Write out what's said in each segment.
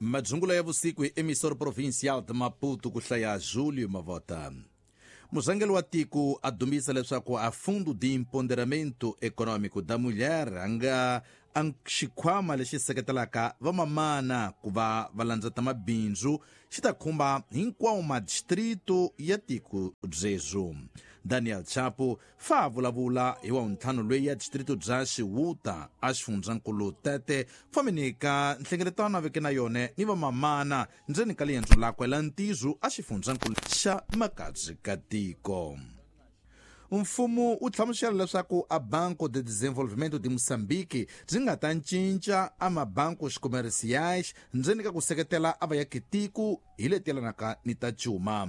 Madzungula ya vusiku hi Emissor Provincial de Maputo ku hlaya Julio Mavota. Murhangeri wa tiko a dumbisa leswaku a Fundo de Empoderamento Econômico da Mulher a nga a xikhwama lexi seketelaka vamamana ku va va landzeta mabindzu xi ta khumba hinkwawo madistrito ya tiko byebyo. Daniel Chapo fa a vulavula hi wavuntlhanu loyi ya distrito bya Xiwuta a xifundzankulu Tete fambeni ka nhlengeletano a veke na yone ni vamamana ndzeni ka liendzo lakwe la ntizu a xifundzankulu xa Makadzi ka tiko. Mfumo wu hlamusela leswaku a Banco de Desenvolvimento de Moçambique byi nga ta cinca a mabancos comerciais ndzeni ka ku seketela a vayakitiko hi leti yelanaka ni ta cuma.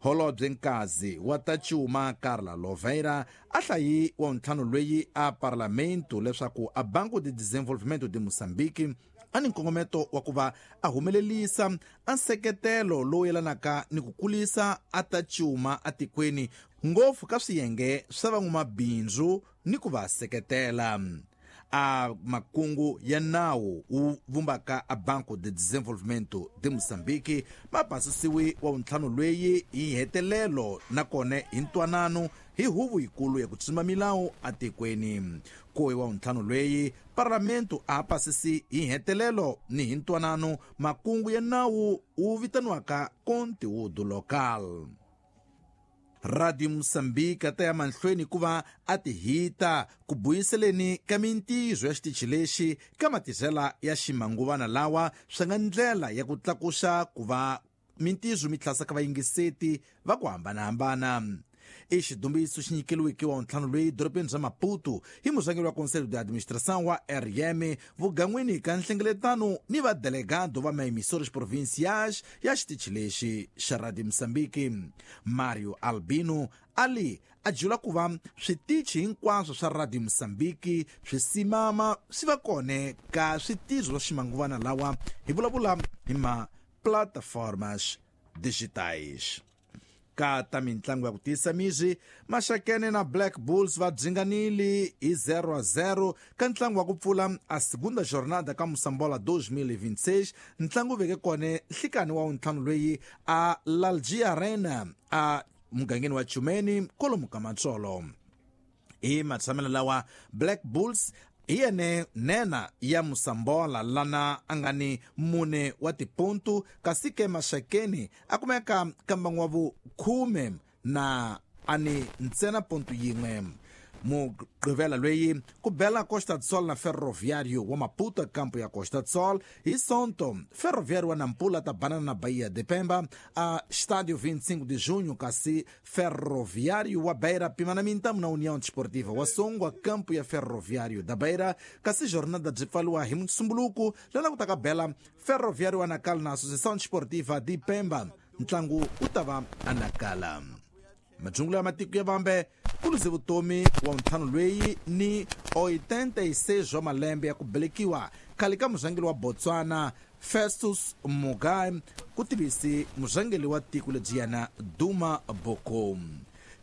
Holobye Nkazi wa ta cuma Carla Loveira a hlayi wa ntlhanu loyi a parlamento leswaku a Banco de Desenvolvimento de Moçambique a ni nkongometo wa ku va a humelelisa a nseketelo lowu yelanaka ni ku kulisa a ta cuma atikweni ngopfu ka swiyenge swa van'wamabindzu ni ku va seketela. A makungu ya nawu wu vumbaka a Banco de Desenvolvimento de Moçambique ma pasisiwi wa vuntlhanu lweyi hi hetelelo nakona hi ntwanano hi huvo yikulu ya ku tsima milawu atikweni. Ku hi wa vuntlhanu lweyi parlamento a pasisi hi hetelelo ni hi ntwanano makungu ya nawu wu vitaniwaka conteúdo local. Radio Moçambique a ta ya mahlweni ku va a ti hita ku buyiseleni ka mintirho ya xitichi lexi ka matirhela ya ximanguvana lawa swi nga ndlela ya ku tlakusa ku va mintirho mi tlhasa ka vayingiseti va ku hambanahambana. I xidumbiso xi nyikeliweke wa ntlhanu loyi dorobeni bya Maputo hi murhangeri wa Conselho de Administração wa RM vugan'wini ka nhlengeletano ni vadelegado va maemissores provinciais ya xitichi lexi xa Radio Moçambique. Mario Albino ali a jula ku va switichi hinkwaswo swa Radio Moçambique swi simama swi va kone ka switirho swa ximanguvana lawa hi vulavula hi ma plataformas digitais. Ka ta mintlangu ya ku tiyisa mizwi, Maxakene na Black Bulls va dzinganile hi 0-0 ka ntlangu wa ku pfula a segunda jornada ka Mosambola 2026. Ntlangu wu veke kone nhlikani wa wuntlhanu loyi a Lalji Arena a mugangeni wa Chumeni kolomu ka Matsolo. Hi matshamelo lawa Black Bulls hi yene nena ya Mosambola lana a nga ni mune wa tipontu, kasi ke Maxakeni a kumeka ka mbangu wa vukhume na a ni ntsena pontu yin'we. Mugqivela loyi ku bela Costa do Sol na Ferroviário wa Maputo kampo ya Costa do Sol hi Sonto. Ferroviário wa Nampula ta banana na Bahia de Pemba a Estádio 25 de Junho, kasi Ferroviário wa Beira pimana mintamu na União Desportiva wa Songwa kampo ya Ferroviário da Beira, kasi jornada byi pfaliwa hi Musumbuluku lana ku ta ka bela Ferroviário wa Nakala na Associação Desportiva de Pemba. Ntlangu wu ta va a Nakala. Majungula ya matiko ya vambe ku luze vutomi wa ntlhanu loyi ni 86 wa malembe ya ku belekiwa khale ka murhangeri wa Botswana Festus Mogae ku tivisi murhangeri wa tiko lebyiyana Duma Boko.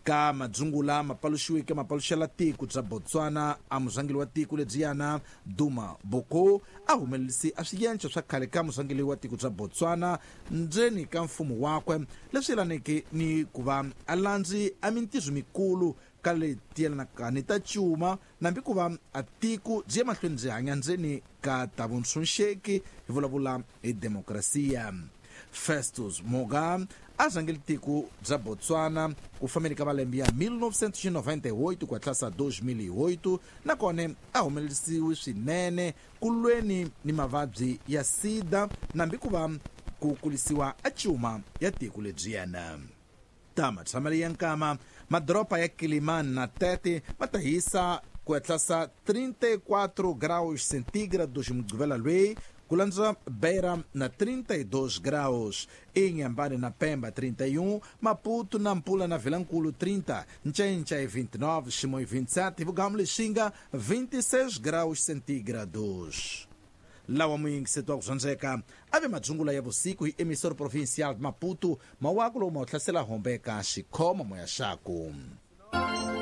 Ka madzungula mapaluxiweke mapaluxela tiko bya Botswana a murhangeri wa tiko lebyiyana Duma Boko a humelerisi a swiyenco swa khale ka murhangeri wa tiko bya Botswana ndzeni ka mfumo wakwe leswi yelaneke ni ku va a landzi a mintirho mikulu ka leti yelanaka ni ta cuma nambi ku va a tiko byi ya mahlweni byi hanya ndzeni ka ta vuntshunxeki hi vulavula hi demokrasiya. Festus Mogae a rhangeli tiko bya Botswana ku fambeni ka malembe ya 1998 ku hatlasa 2008, nakona a humelerisiwe swinene ku lweni ni mavabyi ya sida nambi ku va ku kulisiwa a cuma ya tiko lebyiyana. Ta matshamelo ya nkama, madoroba ya Kilimani na Tete ma ta hisa ku hatlasa 34 graus centígrados mugqivela loyi, ku landza Beira na 32 graus, Inhambane na Pemba 31, Maputo na Nampula na Vilankulu 30, Ncencha 29, Chimoio 27 e Vugamu Lixinga 26 graus centígrados. Lawa muyingiseti wa ku dyondzeka a ve madzungula ya vusiku hi Emissor Provincial de Maputo, mawaku lowu ma wu hlasela hombe ka xikhoma moya xaku.